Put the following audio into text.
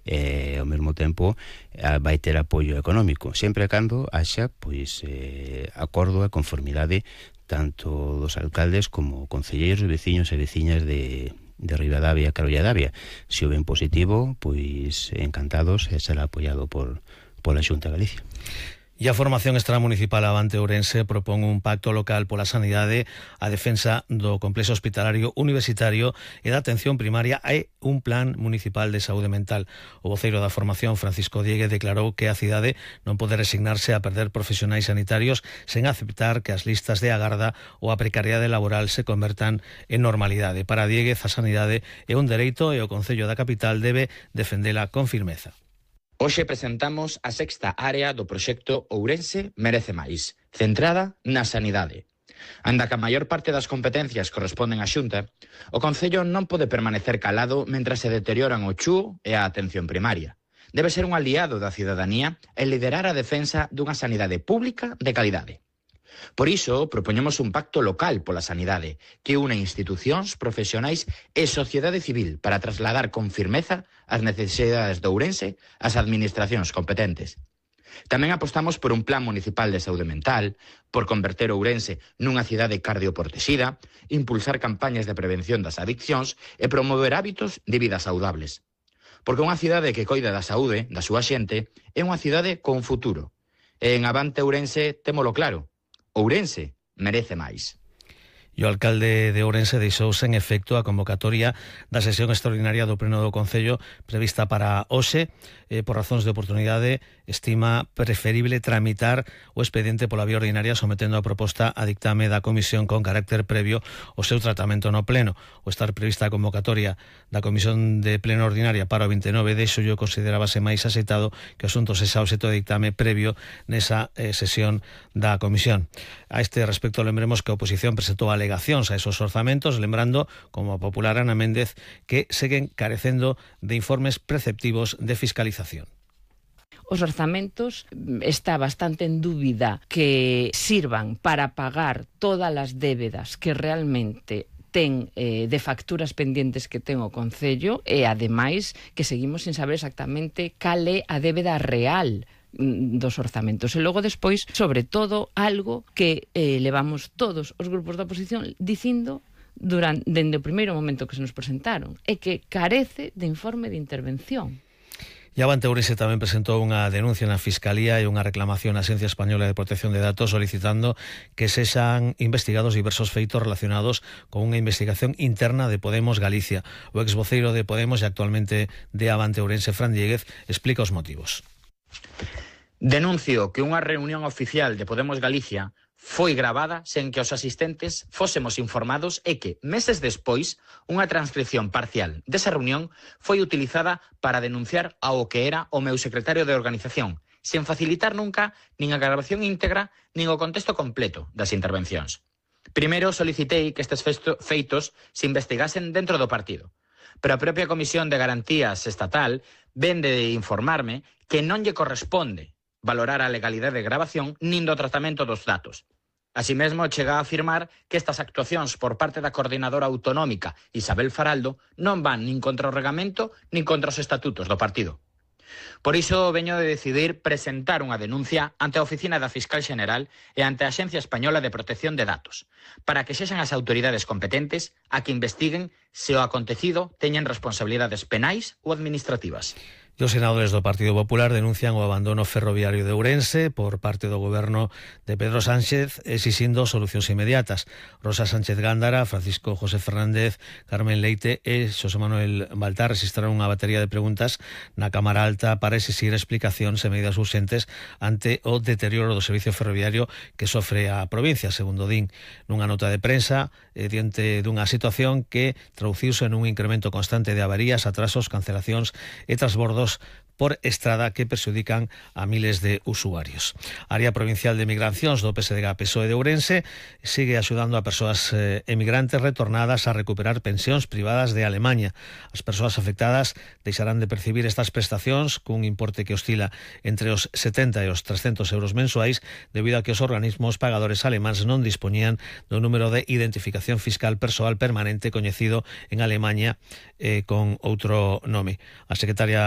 ao mesmo tempo vai ter apoio económico, sempre e cando haxa acordo e conformidade tanto dos alcaldes como concelleiros, veciños e veciñas de Ribadavia, Carollo de Davia. Se o ven positivo, pois encantados e será apoiado pola Xunta de Galicia. E a Formación Extramunicipal Avante Ourense propón un pacto local pola sanidade, a defensa do complexo hospitalario universitario e da atención primaria e un plan municipal de saúde mental. O voceiro da formación, Francisco Diegue, declarou que a cidade non pode resignarse a perder profesionais sanitarios sen aceptar que as listas de agarda ou a precariedade laboral se convertan en normalidade. Para Dieguez, a sanidade é un dereito e o Concello da capital debe defendela con firmeza. Hoxe presentamos a sexta área do proxecto Ourense Merece Máis, centrada na sanidade. Anda que a maior parte das competencias corresponden á Xunta, o Concello non pode permanecer calado mentras se deterioran o CHU e a atención primaria. Debe ser un aliado da cidadanía e liderar a defensa dunha sanidade pública de calidade. Por iso, propoñemos un pacto local pola sanidade que une institucións, profesionais e sociedade civil para trasladar con firmeza as necesidades de Ourense ás administracións competentes. Tamén apostamos por un plan municipal de saúde mental, por converter Ourense nunha cidade cardioportexida, impulsar campañas de prevención das adiccións e promover hábitos de vida saudables. Porque unha cidade que coida da saúde da súa xente é unha cidade con futuro. E en Avante Ourense témolo claro. Ourense merece máis. E o alcalde de Ourense deixou sen efecto a convocatoria da sesión extraordinaria do Pleno do Concello prevista para hoxe. Por razóns de oportunidade, estima preferible tramitar o expediente pola vía ordinaria sometendo a proposta a dictame da Comisión con carácter previo o seu tratamento no Pleno. O estar prevista a convocatoria da Comisión de Pleno Ordinaria para o 29 de xullo considerábase máis aceitado que o asunto sexa obxecto de dictame previo nesa sesión da Comisión. A este respecto, lembremos que a oposición presentou alegacións a esos orzamentos, lembrando, como a popular Ana Méndez, que seguen carecendo de informes preceptivos de fiscalización. Os orzamentos está bastante en dúbida que sirvan para pagar todas as débedas que realmente ten de facturas pendientes que ten o Concello e, ademais, que seguimos sin saber exactamente cal é a débeda real dos orzamentos. E logo despois, sobre todo, algo que levamos todos os grupos da oposición dicindo dende o primeiro momento que se nos presentaron, é que carece de informe de intervención. E Avante Ourense tamén presentou unha denuncia na Fiscalía e unha reclamación á Axencia Española de Protección de Datos solicitando que sexan investigados diversos feitos relacionados con unha investigación interna de Podemos Galicia. O exvoceiro de Podemos e actualmente de Avante Ourense, Fran Dieguez, explica os motivos. Denuncio que unha reunión oficial de Podemos Galicia foi gravada sen que os asistentes fósemos informados e que, meses despois, unha transcripción parcial desa reunión foi utilizada para denunciar ao que era o meu secretario de organización, sen facilitar nunca nin a grabación íntegra nin o contexto completo das intervencións. Primeiro solicitei que estes feitos se investigasen dentro do partido, pero a propia Comisión de Garantías Estatal vende de informarme que non lle corresponde valorar a legalidade de grabación nin do tratamento dos datos. Así mesmo, chega a afirmar que estas actuacións por parte da coordinadora autonómica Isabel Faraldo non van nin contra o regamento nin contra os estatutos do partido. Por iso veño de decidir presentar unha denuncia ante a Oficina da Fiscal Xeneral e ante a Axencia Española de Protección de Datos, para que sexan as autoridades competentes a que investiguen se o acontecido teñen responsabilidades penais ou administrativas. E os senadores do Partido Popular denuncian o abandono ferroviario de Ourense por parte do goberno de Pedro Sánchez, exixindo solucións inmediatas. Rosa Sánchez Gándara, Francisco José Fernández, Carmen Leite e Xosé Manuel Baltar registraron unha batería de preguntas na Cámara Alta para exixir explicacións e medidas urxentes ante o deterioro do servicio ferroviario que sofre a provincia, segundo din nunha nota de prensa, diante dunha situación que traduciuse en un incremento constante de avarías, atrasos, cancelacións e transbordos por estrada que perxudican a miles de usuarios. A Área Provincial de Migracións do PSDG-PSOE de Ourense sigue axudando a persoas emigrantes retornadas a recuperar pensións privadas de Alemaña. As persoas afectadas deixarán de percibir estas prestacións cun importe que oscila entre os 70 e os 300 euros mensuais debido a que os organismos pagadores alemáns non dispoñían do número de identificación fiscal persoal permanente coñecido en Alemaña con outro nome. A secretaria